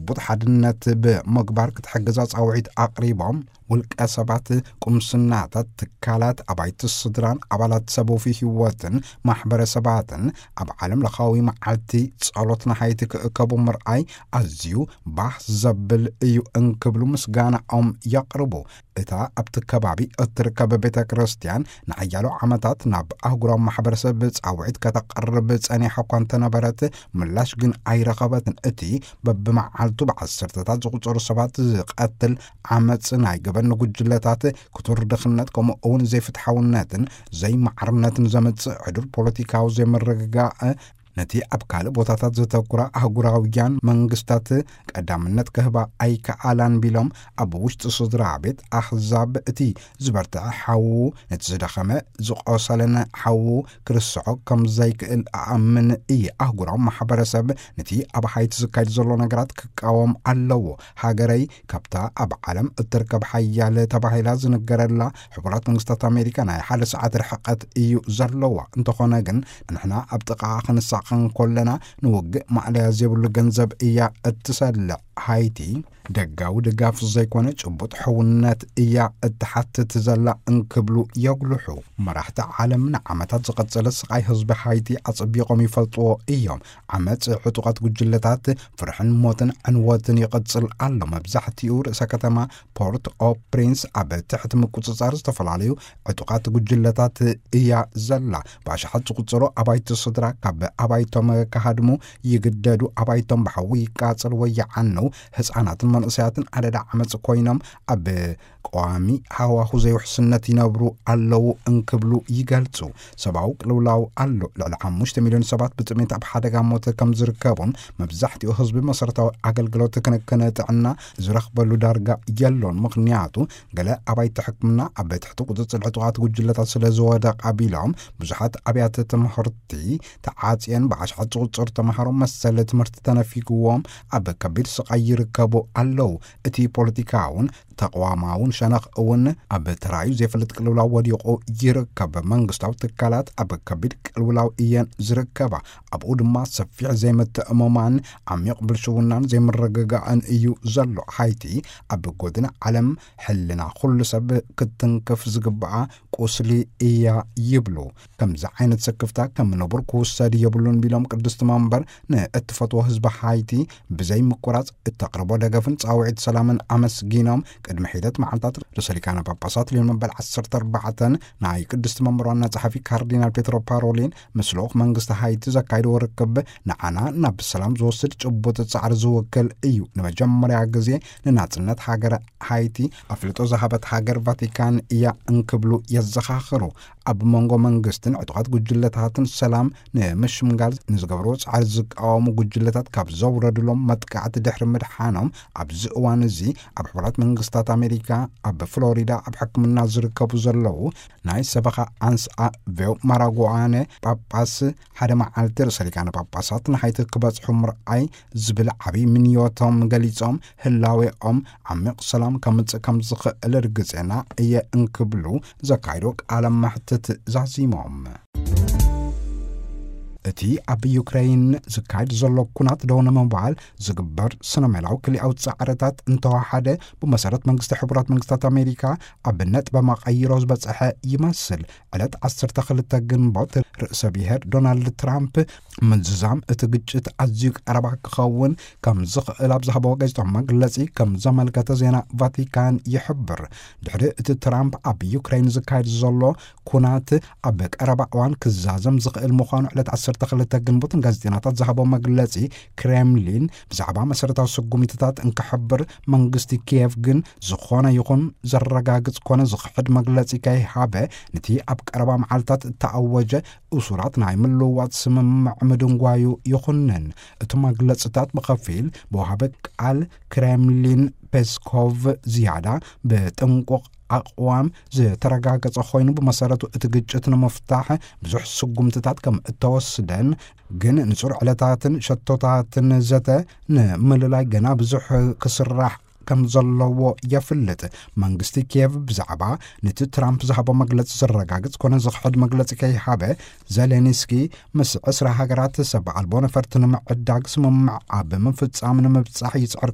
ቡጥ ሓድነት ብምግባር ክትሕግዛ ጻውዒት ኣቕሪቦም። ውልቀ ሰባት፣ ቁምስናታት፣ ትካላት፣ ኣባይቲ ስድራን ኣባላት ሰብ ወፊ ህይወትን ማሕበረሰባትን ኣብ ዓለም ለኻዊ መዓልቲ ጸሎት ንሃይቲ ክእከቡ ምርኣይ ኣዝዩ ባህ ዘብል እዩ እንክብሉ ምስጋናኦም የቕርቡ። እታ ኣብቲ ከባቢ እትርከብ ቤተ ክርስቲያን ንሓያሎ ዓመታት ናብ ኣህጉራዊ ማሕበረሰብ ጻውዒት ከተቕርብ ጸኒሓ እኳ እንተነበረት፣ ምላሽ ግን ኣይረኸበትን። እቲ በብመዓልቱ ብዓሰርተታት ዝቑጸሩ ሰባት ዝቐትል ዓመጽ፣ ናይ ገበን ጉጅለታት፣ ክቱር ድኽነት፣ ከምኡ እውን ዘይፍትሓውነትን ዘይማዕርነትን ዘምጽእ ዕዱር ፖለቲካዊ ዘይምርግጋእ፣ ነቲ ኣብ ካልእ ቦታታት ዘተኩራ ኣህጉራውያን መንግስታት ቀዳምነት ክህባ ኣይከኣላን ቢሎም፣ ኣብ ውሽጢ ስድራ ቤት ኣህዛብ እቲ ዝበርትዐ ሓዉ ነቲ ዝደኸመ ዝቖሰለን ሓዉ ክርስዖ ከም ዘይክእል ኣኣምን እየ። ኣህጉራዊ ማሕበረሰብ ነቲ ኣብ ሃይቲ ዝካየድ ዘሎ ነገራት ክቃወም ኣለዎ። ሃገረይ ካብታ ኣብ ዓለም እትርከብ ሓያል ተባሂላ ዝንገረላ ሕቡራት መንግስታት ኣሜሪካ ናይ ሓደ ሰዓት ርሕቀት እዩ ዘለዋ። እንተኾነ ግን ንሕና ኣብ ጥቓ ክንሳቐ እንኮለና ንውግእ ማእለያ ዘይብሉ ገንዘብ እያ እትሰልዕ። ሃይቲ ደጋዊ ድጋፍ ዘይኮነ ጭቡጥ ሕውነት እያ እትሓትት ዘላ እንክብሉ የጉልሑ። መራሕቲ ዓለም ንዓመታት ዝቐጸለ ስቓይ ህዝቢ ሃይቲ ኣጸቢቖም ይፈልጥዎ እዮም። ዓመጽ፣ ዕጡቓት ጉጅለታት፣ ፍርሕን ሞትን ዕንወትን ይቕጽል ኣሎ። መብዛሕትኡ ርእሰ ከተማ ፖርት ኦ ፕሪንስ ኣብ ትሕቲ ምቁጽጻር ዝተፈላለዩ ዕጡቓት ጉጅለታት እያ ዘላ። ብኣሽሓት ዝቑጸሩ ኣባይቲ ስድራ ካብ ኣባይቶም ክሃድሙ ይግደዱ። ኣባይቶም ብሓዊ ይቃጸሉ ወይ ይዓነው። ህጻናትን መንእሰያትን ኣደዳ ዓመጽ ኮይኖም ኣብ ቀዋሚ ሃዋሁ ዘይውሕስነት ይነብሩ ኣለዉ እንክብሉ ይገልጹ። ሰብኣዊ ቅልውላው ኣሎ። ልዕሊ ሓሙሽተ ሚልዮን ሰባት ብጥሜት ኣብ ሓደጋ ሞት ከም ዝርከቡን መብዛሕትኡ ህዝቢ መሰረታዊ ኣገልግሎት ክንክን ጥዕና ዝረኽበሉ ዳርጋ የሎን። ምኽንያቱ ገለ ኣባይቲ ሕክምና ኣብ ትሕቲ ቁጽጽር ዕጡቓት ጉጅለታት ስለ ዝወደቓ ቢሎም ብዙሓት ኣብያተ ትምህርቲ ተዓጽየን ብኣሽሓት ዝቑጸሩ ተምሃሮ መሰል ትምህርቲ ተነፊግዎም ኣብ ከቢድ ስቓይ ይርከቡ ኣለዉ። እቲ ፖለቲካውን ተቕዋማውን ሸነኽ እውን ኣብ ተራዩ ዘይፈልጥ ቅልውላው ወዲቑ ይርከብ። መንግስታዊ ትካላት ኣብ ከቢድ ቅልውላው እየን ዝርከባ። ኣብኡ ድማ ሰፊሕ ዘይምትእምማን፣ ዓሚቕ ብልሽውናን ዘይምርግጋእን እዩ ዘሎ። ሃይቲ ኣብ ጎድኒ ዓለም ሕልና ኩሉ ሰብ ክትንክፍ ዝግብኣ ቁስሊ እያ ይብሉ። ከምዚ ዓይነት ስክፍታ ከም ንቡር ክውሰድ የብሉን ቢሎም ቅድስቲ መንበር ንእትፈትዎ ህዝቢ ሃይቲ ብዘይ ምቁራጽ እተቕርቦ ደገፍን ጻውዒት ሰላምን ኣመስጊኖም፣ ቅድሚ ሒደት መዓልታት ርእሰ ሊቃነ ጳጳሳት ሊዮን መበል ዓሰርተ ኣርባዕተ ናይ ቅድስቲ መንበር ዋና ጸሓፊ ካርዲናል ፔትሮ ፓሮሊን ምስ ልኡኽ መንግስቲ ሃይቲ ዘካይድዎ ርክብ ንዓና ናብ ሰላም ዝወስድ ጭቡጥ ጻዕሪ ዝውክል እዩ። ንመጀመርያ ግዜ ንናጽነት ሃገረ ሃይቲ ኣፍልጦ ዝሃበት ሃገር ቫቲካን እያ እንክብሉ የዘኻኽሩ። ኣብ መንጎ መንግስትን ዕጡቓት ጉጅለታትን ሰላም ንምሽምጋል ንዝገብርዎ ጻዕሪ ዝቃወሙ ጉጅለታት ካብ ዘውረድሎም መጥቃዕቲ ድሕሪ ምድሓኖም፣ ኣብዚ እዋን እዚ ኣብ ሕቡራት መንግስታት ኣሜሪካ ኣብ ፍሎሪዳ ኣብ ሕክምና ዝርከቡ ዘለዉ ናይ ሰበኻ ኣንስኣ ቬው ማራጉኣነ ጳጳስ ሓደ መዓልቲ ርእሰ ሊቃነ ጳጳሳት ንሃይቲ ክበጽሑ ምርኣይ ዝብል ዓብዪ ምንዮቶም ገሊጾም፣ ህላዌኦም ዓሚቕ ሰላም ከምጽእ ከም ዝኽእል ርግጼና እየ እንክብሉ ዘካይዶ ቃለ መሕትት ዛዚሞም። እቲ ኣብ ዩክሬን ዝካየድ ዘሎ ኩናት ደው ንምባል ዝግበር ስነ ሜላዊ ክልኣዊ ጻዕርታት እንተወሓደ፣ ብመሰረት መንግስቲ ሕቡራት መንግስታት ኣሜሪካ ኣብ ነጥበ መቐይሮ ዝበጽሐ ይመስል። ዕለት ዓሰርተ ክልተ ግንቦት ርእሰ ብሔር ዶናልድ ትራምፕ ምዝዛም እቲ ግጭት ኣዝዩ ቀረባ ክኸውን ከም ዝኽእል ኣብ ዝሃበዎ ጋዜጣዊ መግለጺ ከም ዘመልከተ ዜና ቫቲካን ይሕብር። ድሕሪ እቲ ትራምፕ ኣብ ዩክሬን ዝካየድ ዘሎ ኩናት ኣብ ቀረባ እዋን ክዛዘም ዝኽእል ምዃኑ ዕለት ዓሰርተ ክልተ ግንቦት ንጋዜጠኛታት ዝሃቦ መግለጺ ክሬምሊን ብዛዕባ መሰረታዊ ስጉሚትታት እንክሕብር፣ መንግስቲ ኪየቭ ግን ዝኾነ ይኹን ዘረጋግጽ ኮነ ዝኽሕድ መግለጺ ከይሃበ፣ ነቲ ኣብ ቀረባ መዓልታት እተኣወጀ እሱራት ናይ ምልውዋጥ ስምምዕ ምድንጓዩ ይኹንን። እቲ መግለጽታት ብኸፊል ብወሃቢ ቃል ክሬምሊን ፔስኮቭ ዝያዳ ብጥንቁቕ ኣቕዋም ዝተረጋገጸ ኮይኑ፣ ብመሰረቱ እቲ ግጭት ንምፍታሕ ብዙሕ ስጉምትታት ከም እተወስደን፣ ግን ንጹር ዕለታትን ሸቶታትን ዘተ ንምልላይ ገና ብዙሕ ክስራሕ ከም ዘለዎ የፍልጥ። መንግስቲ ኪየቭ ብዛዕባ ነቲ ትራምፕ ዝሃቦ መግለጺ ዘረጋግጽ ኮነ ዝኽሕድ መግለጺ ከይሃበ፣ ዜሌንስኪ ምስ ዕስራ ሃገራት ሰብ ኣልቦ ነፈርቲ ንምዕዳግ ስምምዕ ኣብ ምፍጻም ንምብጻሕ ይጽዕር